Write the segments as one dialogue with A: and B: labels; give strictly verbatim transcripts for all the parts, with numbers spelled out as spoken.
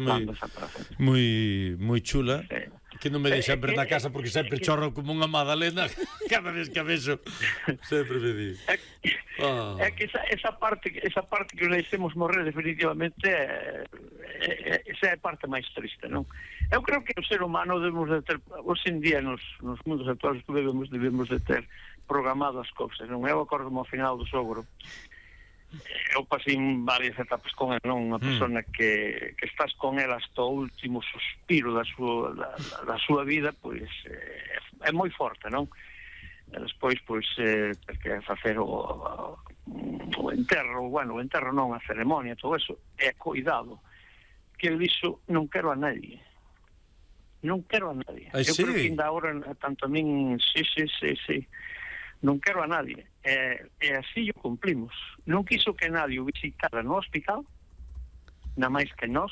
A: moi, moi, moi chula, sí. Que non me deixan ver na casa porque sempre chorro como unha magdalena cada vez que a vexo. Sempre me di.
B: É, oh. é que esa, esa parte esa parte que deixemos morrer definitivamente é, é, esa é a parte máis triste, non? Eu creo que o ser humano debemos de ter, hoxe en día nos, nos mundos actuales que debemos, debemos de ter programado as cousas, non? Eu acordo ao final do sogro. Eu pasei varias etapas con ele, non? Unha persona mm. que, que estás con ele hasta o último suspiro da súa, da, da súa vida, pois é, é moi forte, non? E despois, pois, eh, que facer o, o enterro, bueno, o enterro non, a ceremonia, todo eso, é cuidado. Que ele dixo, non quero a nadie. Non quero a nadie.
A: Ai,
B: Eu
A: sí?
B: creo que ainda agora, tanto a min, sí, sí, sí, sí, non quero a nadie. E, e así o cumplimos. Non quiso que nadie o visitara no hospital, na máis que nós,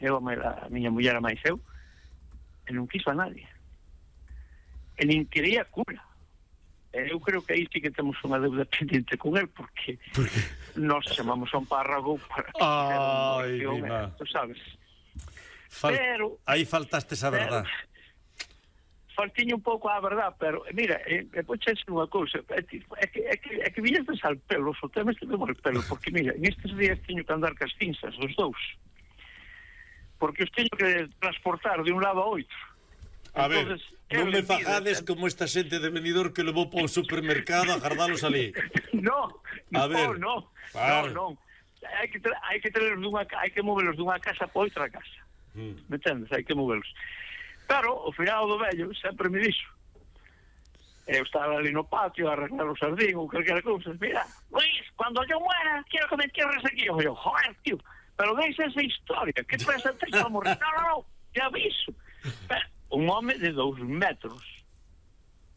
B: eu, a miña muller, a máis eu, e non quiso a nadie. E nin quería cura. E eu creo que aí sí que temos unha deuda pendiente con el, porque nós chamamos a un párrago para que
A: Ai,
B: fixera unha oración, tú sabes.
A: Fal...
B: Pero...
A: Aí faltaste esa verdad.
B: Faltiño un pouco a verdad, pero mira, e eh, pois é unha cousa, é que é que é que, é que viñestes al pelo, o tema este demo al pelo, porque mira, nestes días teño que andar cas cinzas, os dous. Porque os teño que transportar de un lado a outro.
A: A Entonces, ver, non me fajades como esta xente de Benidorm que levou para un supermercado a gardalos ali.
B: No,
A: a
B: no,
A: ver,
B: no,
A: vale.
B: no, no. Hai que hai que traerlos dunha, hai que movelos dunha casa para outra casa. Mm. Me entendes? Hai que movelos. Pero, o final do vello sempre me dixo, eu estaba ali no patio a arreglar o sardín ou calquera cousa, mira, Luis, cuando yo muera, quiero que me entierres aquí. Eu, joder, tío, pero deixa esa historia, que pesa tres para morrer? No, no, no, te aviso. Pero, un home de dous metros,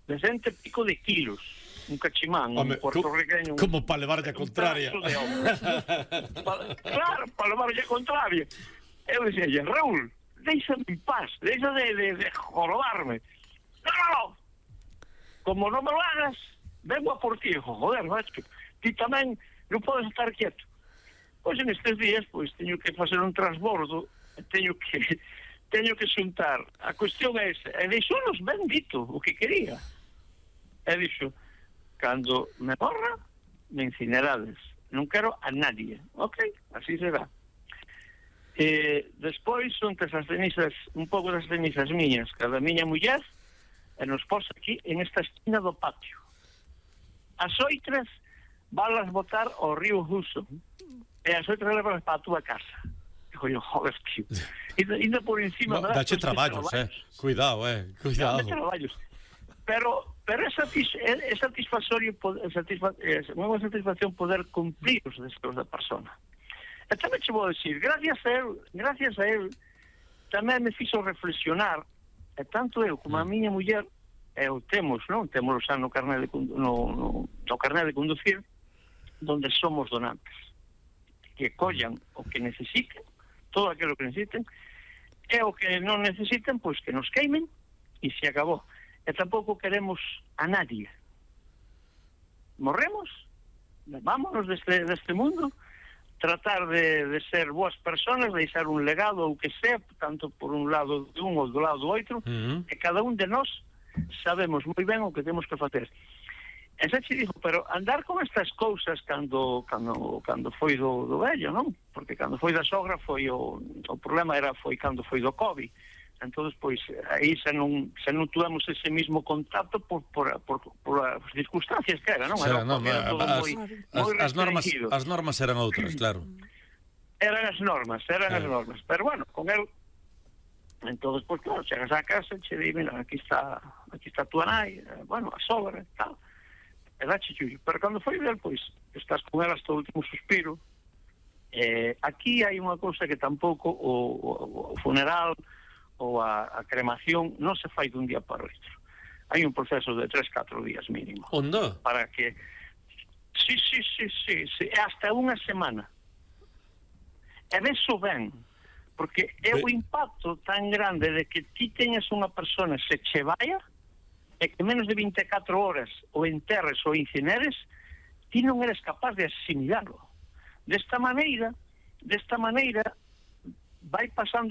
B: de cento e pico de kilos, un cachimán,
A: home,
B: un puertorriqueño...
A: Como para levarlle a contraria.
B: pa, claro, para levarlle a contraria. Eu dixía, Raúl, déixame en paz, deixa de, de, de jorobarme. No, no, no. Como non me lo hagas, vengo a por ti. Joder, macho, ti tamén non podes estar quieto. Pois en estes días, pois, teño que facer un transbordo, teño que teño que xuntar. A cuestión é esa. E deixou-nos ben dito o que quería. E dixo, cando me morra, me incinerades. Non quero a nadie. Ok, así será. E despois son que as cenizas, un pouco das cenizas miñas, cada miña muller, e nos pos aquí en esta esquina do patio. As outras valas botar ao río Ruso e as outras levalas para a túa casa. Digo yo, joder, tío, ainda por encima
A: no, dache traballos, traballos, eh cuidado, eh cuidado. Dache
B: traballos. Pero, pero é, satis, é, é satisfactorio é satisfa, é unha satisfacción poder cumplir os deseos da persona. E tamén che vou dicir, gracias a él, gracias a él, tamén me fixo reflexionar, e tanto eu como a miña muller, eu temos, non? Temos xa no carné de, no, no, no carné de conducir, donde somos donantes, que collan o que necesiten, todo aquilo que necesiten, e o que non necesiten, pois que nos queimen, e se acabou. E tampouco queremos a nadie. Morremos, vámonos deste, deste mundo, tratar de, de ser boas personas, deixar un legado ou que sea, tanto por un lado de un ou do lado do outro, uh-huh. E cada un de nós sabemos moi ben o que temos que facer. E xa che digo, pero andar con estas cousas cando cando cando foi do, do vello, non? Porque cando foi da sogra foi o, o problema era foi cando foi do COVID. Entonces, pois, aí xa non, xa non tuvemos ese mismo contacto por, por, por, por as circunstancias que era, non?
A: Era,
B: era,
A: non,
B: era todo
A: as,
B: moi,
A: as,
B: moi
A: as, normas, as normas eran outras, claro.
B: Eran as normas, eran
A: eh.
B: as normas. Pero bueno, con el, entonces, pois, claro, chegas á casa, che di, mira, aquí está, aquí está tu nai, bueno, a sogra, tal, e dache chullo. Pero cando foi del, pois, estás con ela hasta o último suspiro. Eh, aquí hai unha cousa que tampouco o, o, o funeral ou a, a cremación non se fai dun día para o outro. Hai un proceso de tres, catro días mínimo.
A: Onda?
B: Para que... Sí, sí, sí, sí, sí, hasta unha semana. E beso ben, porque é o impacto tan grande de que ti teñas unha persona se che vaya e que menos de vinte e catro horas o enterres ou incineres, ti non eres capaz de asimilarlo. Desta maneira, desta maneira, vai pasando